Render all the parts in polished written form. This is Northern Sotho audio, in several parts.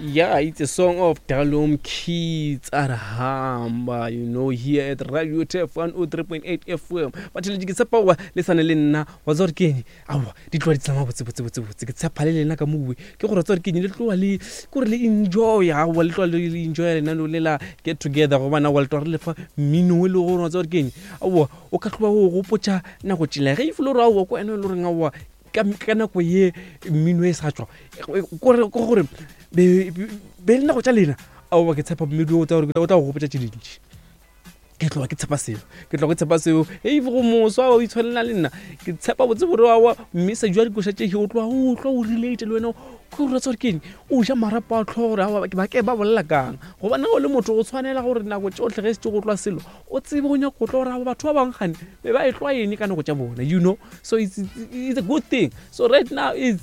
Yeah, it's a song of Dalom Kids Arhamba, you know, here at Radio Tef 103.8 FM. Batheletši ke tshepa goba le sane le nna wa tsa gore ke eng aowa di tloa di tsamaya botse botse botse botse ke tshepa le lena ka mowe ke gore tsa gore ke eng le tloa le ke gore le enjoy aowa le tloa le enjoy lenaneo le la get together gobane aowa le tloa re lefa mmino e le gore wa tsa gore ke eng aowa o ka tloa o gopotša nako tšela ge e fele gore aowa ko wena e le goreng aowa ka ka nako ye mmino e sa tšwa kore ke gore be be le nako tša lena aowa ke tshepa mmino o tla gore o tla go gopotša tše dintši ke tloga ke tshepa seo ke tloga ke tshepa seo if go moswa o itshwanela le nna ke tshepa botse gore aowa mme sa jwa dikoša tše o tloga o tloga o relate le wena ke gore tsa gore ke eng o ja marapo a tlhogo gore aowa ba ke ba bolela kang gobane o le motho o tshwanela gore nako tšohle ge se go tloa selo o tsebe go nyaka go tlo gore batho ba bangwe gane be ba e tloa eng ka nako tša bona you know. So it's a good thing. So right now is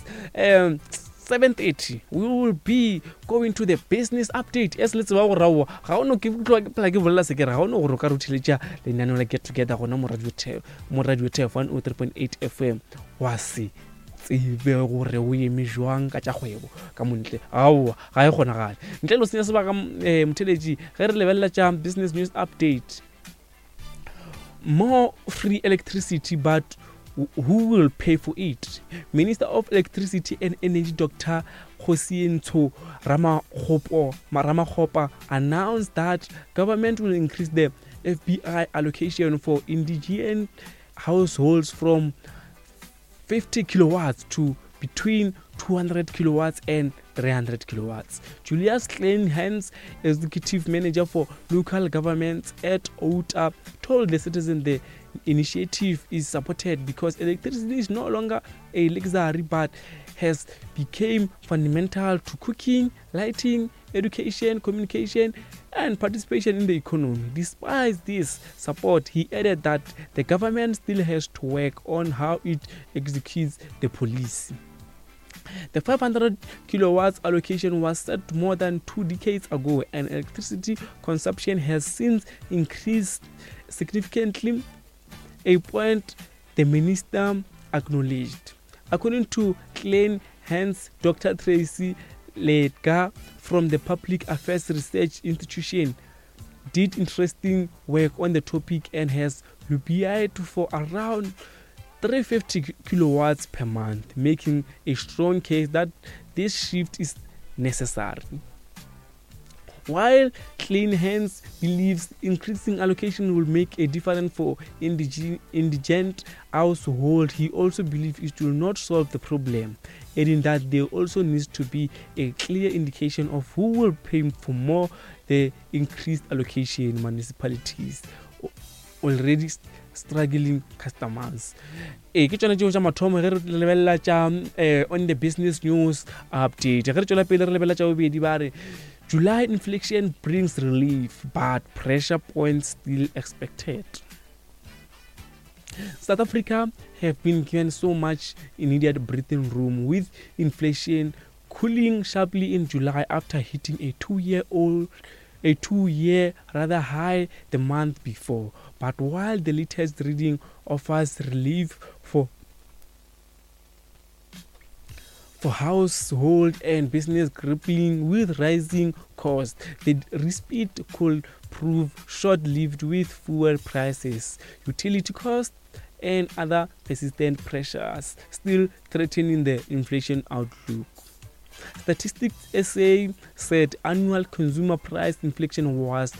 7:30. We will be going to the business update. As le tseba gore aowa ga o no ke tloa ke phela ke bolela se ke re ga o no gore o ka re o theletša lenaneo la get together gona mo radio tef mo radio tef 103.8 FM wa se tsebe gore o eme jwang ka tša kgwebo ka montle. Aowa ga e kgonagale ntle le go senya sebaka. Motheletši ge re lebelela tša business news update, more free electricity, but who will pay for it? Minister of Electricity and Energy Dr. Kgosientsho Ramokgopa announced that government will increase the FBI allocation for indigent households from 50 kilowatts to between 200 kilowatts and 300 kilowatts. Julius Kleynhans, executive manager for local governments at OUTA, told the Citizen the initiative is supported because electricity is no longer a luxury but has become fundamental to cooking, lighting, education, communication, and participation in the economy. Despite this support, he added that the government still has to work on how it executes the policy. The 500 kilowatts allocation was set more than 2 decades ago, and electricity consumption has since increased significantly, a point the minister acknowledged. According to Kleynhans, Dr. Tracy Ledgar from the Public Affairs Research Institution did interesting work on the topic and has lobbied for around 350 kilowatts per month, making a strong case that this shift is necessary. While Kleynhans believes increasing allocation will make a difference for indigent households, he also believes it will not solve the problem, adding that there also needs to be a clear indication of who will pay for more the increased allocation. Municipalities, already struggling customers. Ee, ke tšona tšeo tša mathomo ge re lebelela tša on the business news update. Ge re tšwela pele re lebelela tša bobedi, ba re July inflation brings relief but pressure points still expected. South Africa have been given so much needed breathing room, with inflation cooling sharply in July after hitting a 2-year rather high the month before. But while the latest reading offers relief for household and business grappling with rising costs, the respite could prove short-lived with fuel prices, utility costs, and other persistent pressures still threatening the inflation outlook. Statistics SA said annual consumer price inflation was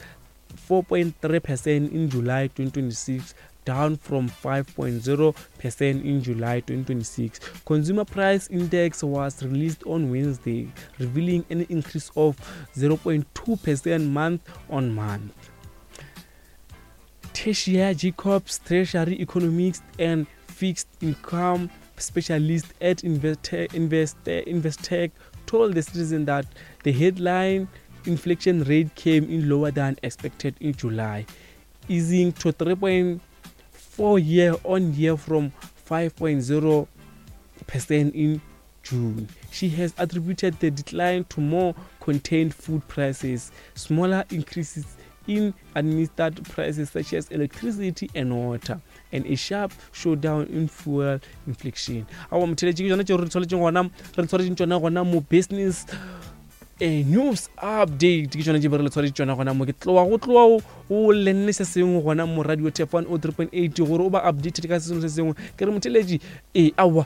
4.3% in July 2026, down from 5.0% in July 2026. Consumer Price Index was released on Wednesday, revealing an increase of 0.2% month on month. Tertia Jacobs, Treasury Economics and Fixed Income Specialist at Investec, told the Citizen that the headline inflation rate came in lower than expected in July, easing to 3.4 year on year from 5.0% in June. She has attributed the decline to more contained food prices, smaller increases in administered prices such as electricity and water, and a sharp showdown in fuel inflation. Awa motheletši, ke tšona tšeo re tshwanetseng gona re tshwaretseng tšona gona mo business. A news update ke tšona tše be re le tshwaretše tšona gona mo. Ke tloa go tloa o lenne se sengwe gona mo radio tef 103.8 gore o ba updated ka se sengwe se sengwe. Ke re motheletši e aowa,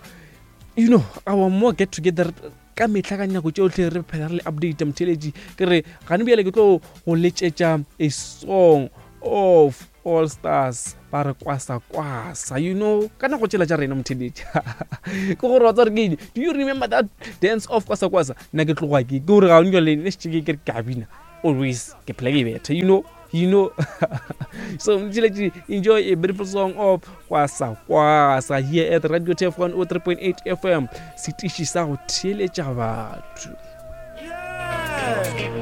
you know our more get together ka mehla ka nako tšohle re phela re le update motheletši. Ke re gane bjale ke tlo go letšetša a song of All Stars ba re kwasa kwasa, you know, ka nako tšela tša rena motheletši. Ke gore wa tswa re ke eng? Do you remember that dance of kwasa kwasa? Nna ke tloga ke gore ga o le ne šetše ke re ke a bina always, ke phela ke betha, you know, you know. So motheletši, enjoy a beautiful song of kwasa kwasa here at Radio Tef 103.8 FM, setiši sa go theeletša batho.